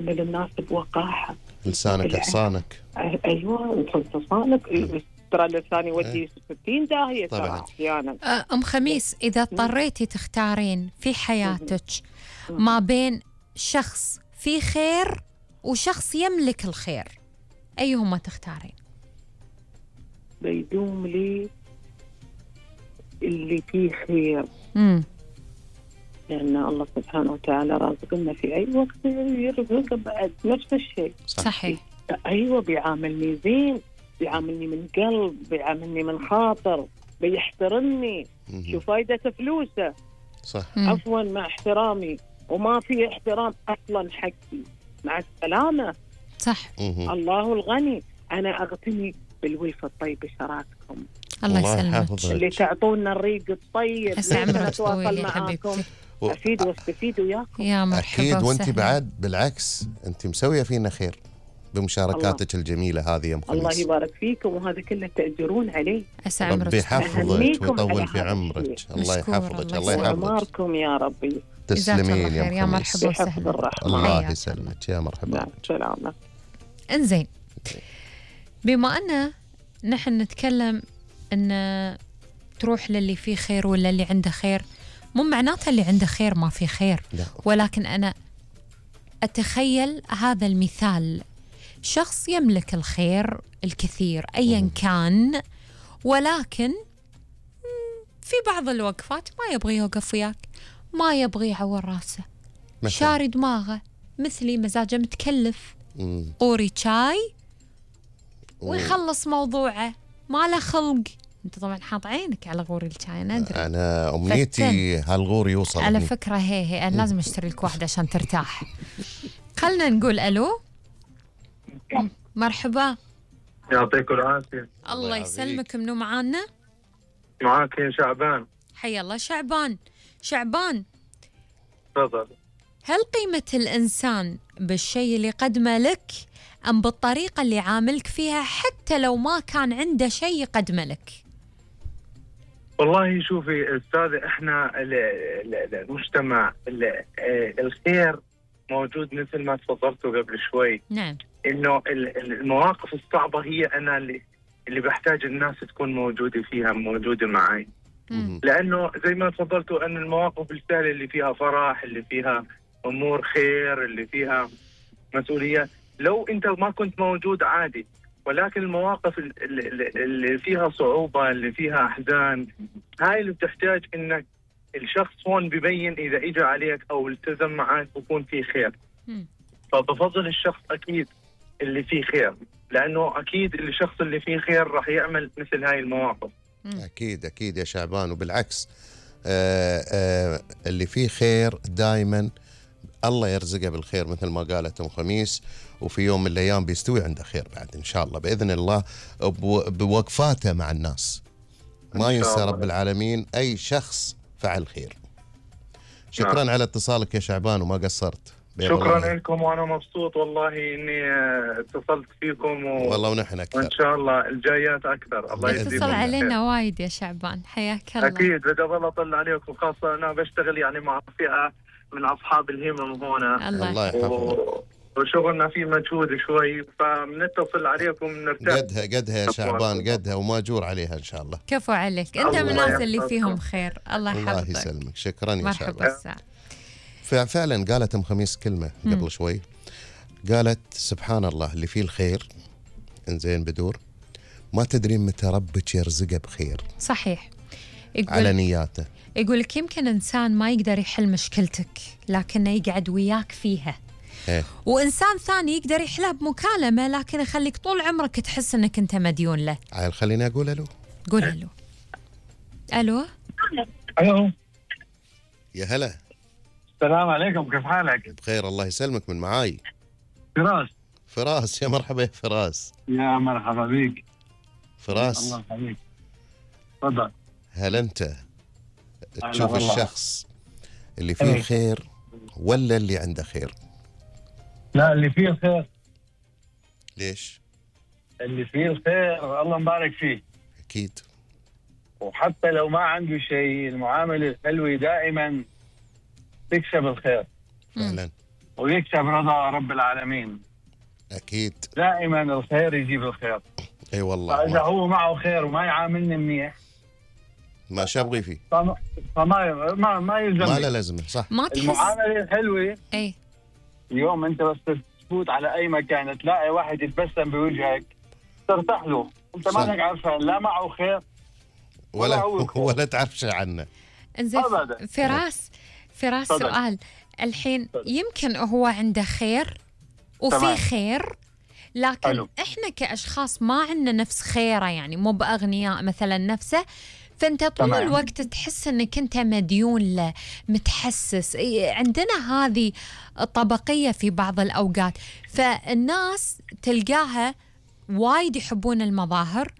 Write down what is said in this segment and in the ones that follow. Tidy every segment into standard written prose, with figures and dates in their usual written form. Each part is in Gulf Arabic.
تعامل الناس بوقاحة. لسانك حصانك. أيوة حصانك. ترى اللسان يودي 60 داهية ترى أحيانا. أم خميس، إذا اضطريتي تختارين في حياتك ما بين شخص فيه خير وشخص يملك الخير، أيهما تختارين؟ بيدوم لي اللي فيه خير. لأن الله سبحانه وتعالى رازقنا في أي وقت يرزق بعد نفس الشيء. صحيح. أيوة بيعاملني زين، بيعاملني من قلب، بيعاملني من خاطر، بيحترمني. شو فايدة فلوسه؟ صح. عفوا مع احترامي، وما في احترام أصلا حقي. مع السلامة. صح. الله الغني. أنا أغتني بالولفة الطيبة شراككم. الله يسلمك. اللي تعطونا الريق الطيب. أتواصل معاكم. أفيد واستفيد وياكم. يا مرحبا. أكيد. وأنت بعد بالعكس أنت مسوية فينا خير بمشاركاتك الجميلة هذه يا أم خميس. الله يبارك فيكم، وهذا كله تأجرون عليه. ربي يحفظك ويطول في عمرك. الله يحفظك. الله يحفظك. عمركم يا ربي. تسلمين يا يا مرحبا وسهلا. الله يسلمك. يا مرحبا. سلامة. انزين، بما أن نحن نتكلم أن تروح للي فيه خير ولا اللي عنده خير، مو معناتها اللي عنده خير ما في خير. لا. ولكن أنا أتخيل هذا المثال، شخص يملك الخير الكثير أيا كان، ولكن في بعض الوقفات ما يبغي يوقف وياك، ما يبغي يعور راسه، شاري دماغه، مثلي مزاجه متكلف، قوري شاي ويخلص موضوعه، ما له خلق. انت طبعا حاط عينك على غوري الشاي، انا ادري. انا امنيتي هالغور يوصل على فكره. هي انا لازم اشتري لك واحده عشان ترتاح. خلنا نقول الو. مرحبا. يعطيكم العافيه. الله يسلمك. منو معانا؟ معاك يا شعبان. حيا الله شعبان. شعبان، تفضل. هل قيمة الإنسان بالشيء اللي قدمه لك أم بالطريقة اللي عاملك فيها حتى لو ما كان عنده شيء يقدمه لك؟ والله شوفي أستاذ، إحنا المجتمع الخير موجود مثل ما تفضلتوا قبل شوي. نعم. إنه المواقف الصعبة هي أنا اللي بحتاج الناس تكون موجودة فيها، موجودة معي. لأنه زي ما تفضلتوا أن المواقف السهلة اللي فيها فرح، اللي فيها أمور خير، اللي فيها مسؤولية، لو أنت ما كنت موجود عادي. ولكن المواقف اللي فيها صعوبة، اللي فيها أحزان، هاي اللي بتحتاج إنك الشخص هون ببين إذا إجا عليك أو التزم معك بكون فيه خير. فبفضل الشخص أكيد اللي فيه خير، لأنه أكيد الشخص اللي فيه خير راح يعمل مثل هاي المواقف. أكيد أكيد يا شعبان. وبالعكس اللي فيه خير دائما الله يرزقه بالخير مثل ما قالت أم خميس، وفي يوم من الأيام بيستوي عنده خير بعد إن شاء الله بإذن الله، بوقفاته مع الناس. ما ينسى رب العالمين أي شخص فعل خير. شكرا على اتصالك يا شعبان وما قصرت. شكرا لكم، وأنا مبسوط والله إني اتصلت فيكم والله ونحن أكثر، وإن شاء الله الجايات أكثر. الله يجزيكم. اتصل علينا وايد يا شعبان، حياك الله. أكيد بدي أظل أطلع عليكم، خاصة أنا بشتغل يعني مع فئة من أصحاب الهمم هنا. الله يحفظك. وشغلنا فيه مجهود شوي، فبنتصل عليكم نرتاح. قدها يا شعبان، قدها وماجور عليها إن شاء الله. كفو عليك، أنت من الناس اللي فيهم خير. الله يحفظك. الله يسلمك. شكرا يا شعبان. مرحبا الساعة. فعلا قالت أم خميس كلمة قبل شوي، قالت سبحان الله اللي فيه الخير إنزين بدور ما تدرين متى ربك يرزقه بخير. صحيح. على نياته. يقول لك يمكن إنسان ما يقدر يحل مشكلتك لكنه يقعد وياك فيها. وإنسان ثاني يقدر يحلها بمكالمة لكن يخليك طول عمرك تحس أنك أنت مديون له. عيل خليني أقول ألو. قول ألو. ألو. ألو. يا هلا. السلام عليكم، كيف حالك؟ بخير الله يسلمك. من معاي؟ فراس. فراس. يا مرحبا يا فراس. يا مرحبا بيك فراس. الله يخليك. تفضل. هل أنت تشوف الشخص اللي فيه الخير ولا اللي عنده خير؟ لا، اللي فيه الخير. ليش؟ اللي فيه الخير الله مبارك فيه. أكيد. وحتى لو ما عنده شيء، المعاملة الحلوة دائما تكسب الخير. فعلا. ويكسب رضا رب العالمين. اكيد دائما الخير يجيب الخير. اي والله. فاذا هو معه خير وما يعاملني منيح ما شابغي فيه، ما يلزم. ما له لازمه. صح. ما تحس المعامله الحلوه. اي اليوم انت بس تفوت على اي مكان تلاقي واحد يتبسم بوجهك ترتاح له، انت صح. مانك عارفه لا معه خير ولا هو خير. ولا تعرف شيء عنه. انزين أبداً. فراس تفضل. سؤال الحين. يمكن هو عنده خير وفي تمام. خير، لكن حلو. احنا كاشخاص ما عندنا نفس خيره، يعني مو باغنياء مثلا نفسه، فانت طول تمام. الوقت تحس انك انت مديون له، متحسس. عندنا هذه طبقيه في بعض الاوقات، فالناس تلقاها وايد يحبون المظاهر،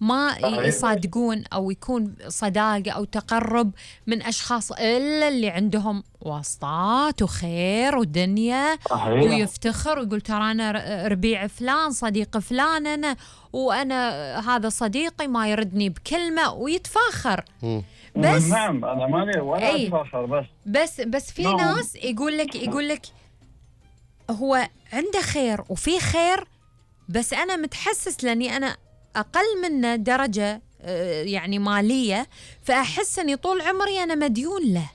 ما صحيح. يصادقون او يكون صداقه او تقرب من اشخاص الا اللي عندهم واسطات وخير ودنيا، صحيح. ويفتخر ويقول ترى انا ربيع فلان، صديق فلان انا، وانا هذا صديقي ما يردني بكلمه، ويتفاخر. بس نعم انا ماني ولا أي. اتفاخر، بس في نعم. ناس يقول لك هو عنده خير وفي خير، بس انا متحسس لاني انا اقل منه درجه يعني ماليه، فاحس اني طول عمري انا مديون له.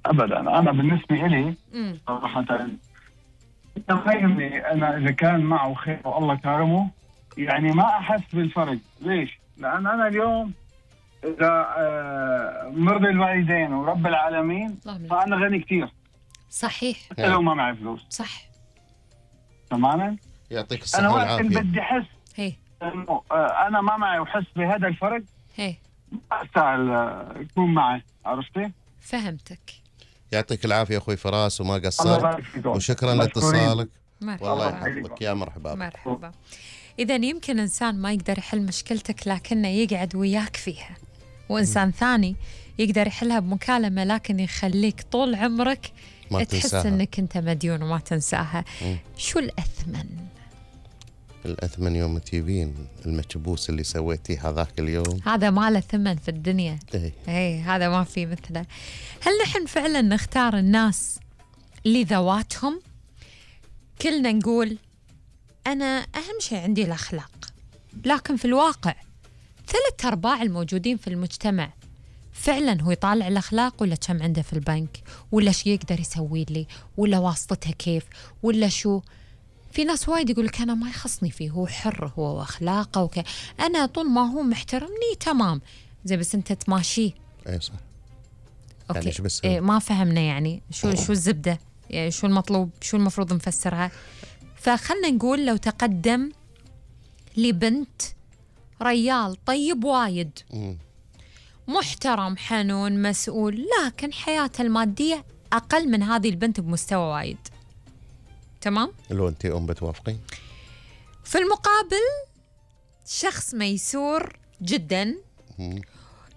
ابدا. انا بالنسبه لي صراحه تخيلني انا اذا كان معه خير والله كرمه، يعني ما احس بالفرق. ليش؟ لان انا اليوم اذا مرضي الوالدين ورب العالمين فانا غني كثير، صحيح. حتى لو ما معي فلوس. صح. تماما. يعطيك انا الصحه وقت اللي والعافيه. بدي احس هي انه انا ما معي وحس بهذا الفرق هي ما استاهل يكون معي. عرفتي؟ فهمتك. يعطيك العافيه اخوي فراس وما الله قصرت، يبارك فيكم. وشكرا مشكورين. لاتصالك. والله مرحبا يحفظك. يا مرحبا. مرحبا. إذا يمكن إنسان ما يقدر يحل مشكلتك لكنه يقعد وياك فيها، وإنسان ثاني يقدر يحلها بمكالمة لكن يخليك طول عمرك ما تحس تنساها. إنك أنت مديون وما تنساها. شو الأثمن؟ الأثمن يوم تجيبين المكبوس اللي سويتيه هذاك اليوم. هذا ما له ثمن في الدنيا. إيه. هذا ما في مثله. هل نحن فعلا نختار الناس لذواتهم؟ كلنا نقول أنا أهم شيء عندي الأخلاق، لكن في الواقع 3/4 الموجودين في المجتمع فعلا هو يطالع الأخلاق، ولا كم عنده في البنك، ولا شو يقدر يسوي لي، ولا واسطته كيف، ولا شو. في ناس وايد يقول لك أنا ما يخصني فيه، هو حر هو وأخلاقه أنا طول ما هو محترمني تمام. زي بس أنت تماشيه. اي صح. أوكي. يعني شو بس ما فهمنا يعني شو الزبدة، يعني شو المطلوب، شو المفروض نفسرها. فخلنا نقول لو تقدم لبنت ريال طيب وايد، محترم حنون مسؤول، لكن حياته المادية أقل من هذه البنت بمستوى وايد، تمام؟ لو أنت بتوافقين. في المقابل شخص ميسور جدا،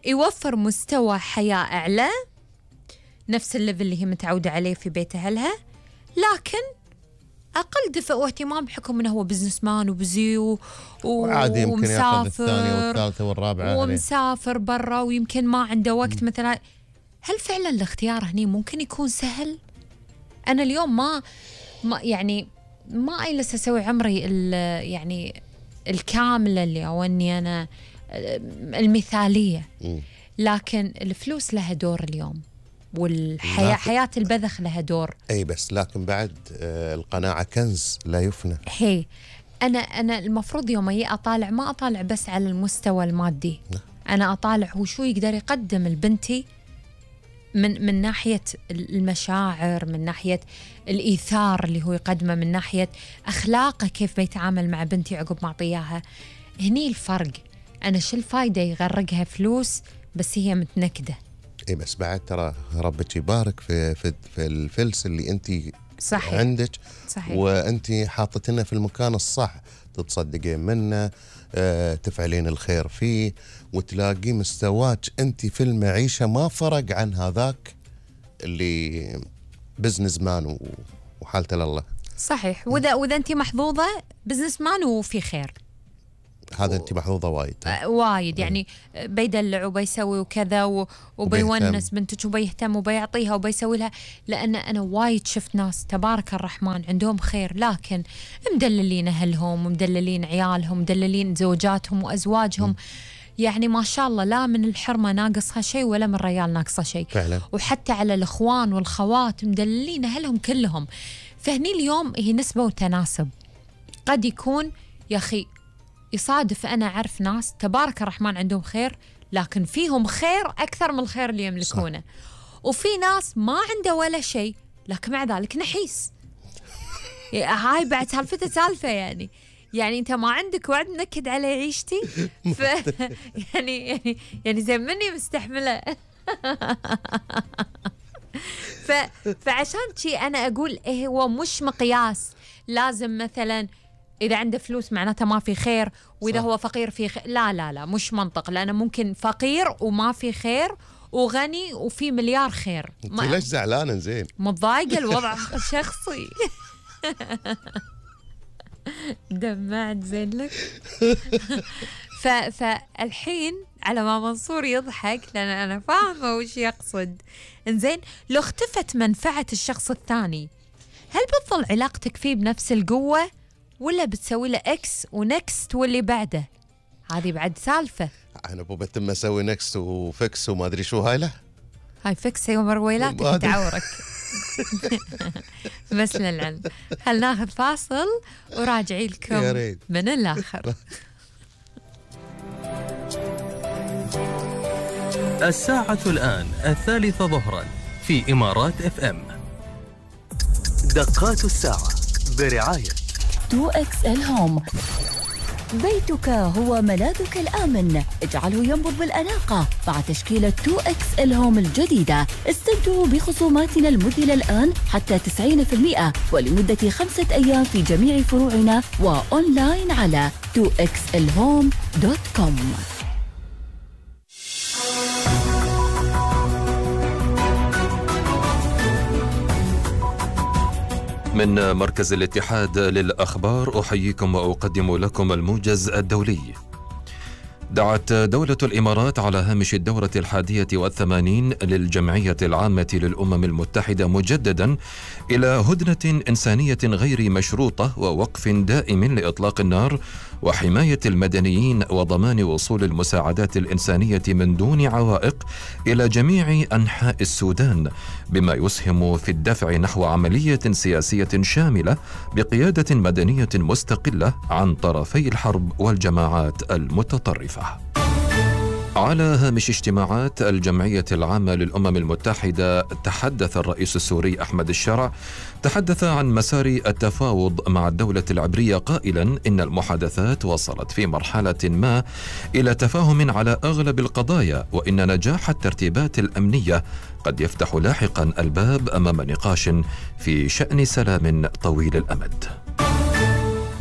يوفر مستوى حياة أعلى، نفس الليفل اللي هي متعودة عليه في بيت أهلها، لكن أقل دفء واهتمام بحكم أنه هو بزنس مان وبزي وعادي يمكن ياخذ الثانية والثالثة والرابعة ومسافر برا ويمكن ما عنده وقت مثلا. هل فعلا الاختيار هني ممكن يكون سهل؟ أنا اليوم ما يعني ما أجلس أسوي عمري يعني الكاملة اللي أو أني أنا المثالية، لكن الفلوس لها دور اليوم، والحياة حياة البذخ لها دور. أي بس لكن بعد القناعة كنز لا يفنى. هي أنا المفروض يوم أطالع ما أطالع بس على المستوى المادي، أنا أطالع هو شو يقدر يقدم لبنتي من ناحية المشاعر، من ناحية الإيثار اللي هو يقدمه، من ناحية أخلاقه كيف بيتعامل مع بنتي عقب ما أعطيها. هني الفرق. أنا شو الفايدة يغرقها فلوس بس هي متنكدة؟ اي بس بعد ترى ربك يبارك في الفلس اللي انت صحيح عندك. صحيح. وانت حاطتنا في المكان الصح، تتصدقين منه، تفعلين الخير فيه، وتلاقي مستواك انت في المعيشة ما فرق عن هذاك اللي بزنس مان وحالته لله. صحيح. واذا انت محظوظة بزنس مان وفي خير، هذا أنت محظوظة وايد. وايد يعني بيدلع وبيسوي وكذا وبيونس بنتك وبيهتم وبيعطيها وبيسوي لها. لأن أنا وايد شفت ناس تبارك الرحمن عندهم خير، لكن مدللين أهلهم ومدللين عيالهم مدللين زوجاتهم وأزواجهم. يعني ما شاء الله لا من الحرمة ناقصها شيء ولا من الريال ناقصها شيء فعلا. وحتى على الإخوان والخوات مدللين أهلهم كلهم. فهني اليوم هي نسبة وتناسب. قد يكون يا أخي يصادف أنا أعرف ناس تبارك الرحمن عندهم خير، لكن فيهم خير أكثر من الخير اللي يملكونه. وفي ناس ما عنده ولا شيء لكن مع ذلك نحيس. هاي بعد سالفته سالفة يعني أنت ما عندك وعد نكد على عيشتي يعني زي مني مستحملة. فعشان شي أنا أقول إيه هو مش مقياس لازم مثلا إذا عنده فلوس معناته ما في خير، وإذا هو فقير في خير. لا مش منطق، لأنه ممكن فقير وما في خير وغني وفي مليار خير. أنت ليش زعلانة؟ زين متضايقة الوضع شخصي. دمعت زين لك. فالحين على ما منصور يضحك لأن أنا فاهمة وش يقصد. إنزين لو اختفت منفعة الشخص الثاني، هل بتظل علاقتك فيه بنفس القوة ولا بتسوي له إكس ونكست واللي بعده؟ هذه بعد سالفة. أنا بتم أسوي نكست وفكس وما أدري شو هاي. له هاي فكس يوم رويلاتك تعورك. بس للعلم هل ناخذ فاصل وراجعي لكم من الآخر. الساعة الآن 3 ظهرا في إمارات FM. دقات الساعة برعاية 2XL هوم. بيتك هو ملاذك الآمن، اجعله ينبض بالأناقة مع تشكيلة 2XL هوم الجديدة. استمتعوا بخصوماتنا المذهلة الآن حتى 90% ولمدة 5 أيام في جميع فروعنا وأونلاين على 2xlhome.com. من مركز الاتحاد للأخبار أحييكم وأقدم لكم الموجز الدولي. دعت دولة الإمارات على هامش الدورة 81 للجمعية العامة للأمم المتحدة مجددا إلى هدنة إنسانية غير مشروطة ووقف دائم لإطلاق النار وحماية المدنيين وضمان وصول المساعدات الإنسانية من دون عوائق إلى جميع أنحاء السودان، بما يسهم في الدفع نحو عملية سياسية شاملة بقيادة مدنية مستقلة عن طرفي الحرب والجماعات المتطرفة. على هامش اجتماعات الجمعية العامة للأمم المتحدة تحدث الرئيس السوري أحمد الشرع عن مسار التفاوض مع الدولة العبرية قائلا إن المحادثات وصلت في مرحلة ما إلى تفاهم على أغلب القضايا، وإن نجاح الترتيبات الأمنية قد يفتح لاحقا الباب أمام نقاش في شأن سلام طويل الأمد.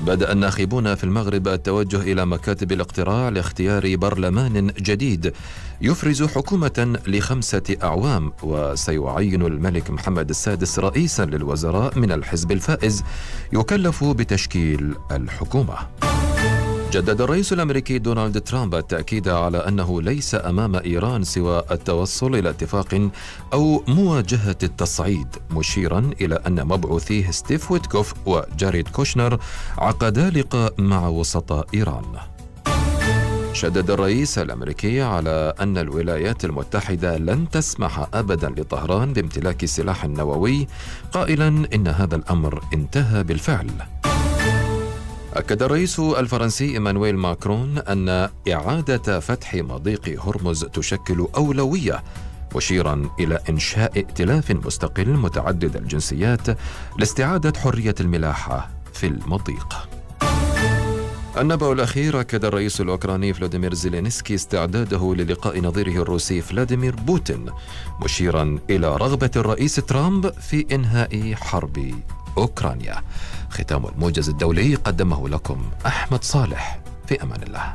بدأ الناخبون في المغرب التوجه إلى مكاتب الاقتراع لاختيار برلمان جديد يفرز حكومة ل5 أعوام، وسيعين الملك محمد السادس رئيسا للوزراء من الحزب الفائز يكلف بتشكيل الحكومة. جدد الرئيس الأمريكي دونالد ترامب التأكيد على أنه ليس أمام إيران سوى التوصل إلى اتفاق أو مواجهة التصعيد، مشيرا إلى أن مبعوثيه ستيف ويتكوف وجاريد كوشنر عقدا لقاء مع وسطاء إيران. شدد الرئيس الأمريكي على أن الولايات المتحدة لن تسمح أبدا لطهران بامتلاك سلاح نووي، قائلا إن هذا الأمر انتهى بالفعل. أكد الرئيس الفرنسي إيمانويل ماكرون أن إعادة فتح مضيق هرمز تشكل أولوية، مشيرا إلى إنشاء ائتلاف مستقل متعدد الجنسيات لاستعادة حرية الملاحة في المضيق. النبأ الأخير. أكد الرئيس الأوكراني فلاديمير زيلينسكي استعداده للقاء نظيره الروسي فلاديمير بوتين، مشيرا إلى رغبة الرئيس ترامب في إنهاء حرب أوكرانيا. ختام الموجز الدولي قدمه لكم أحمد صالح، في أمان الله.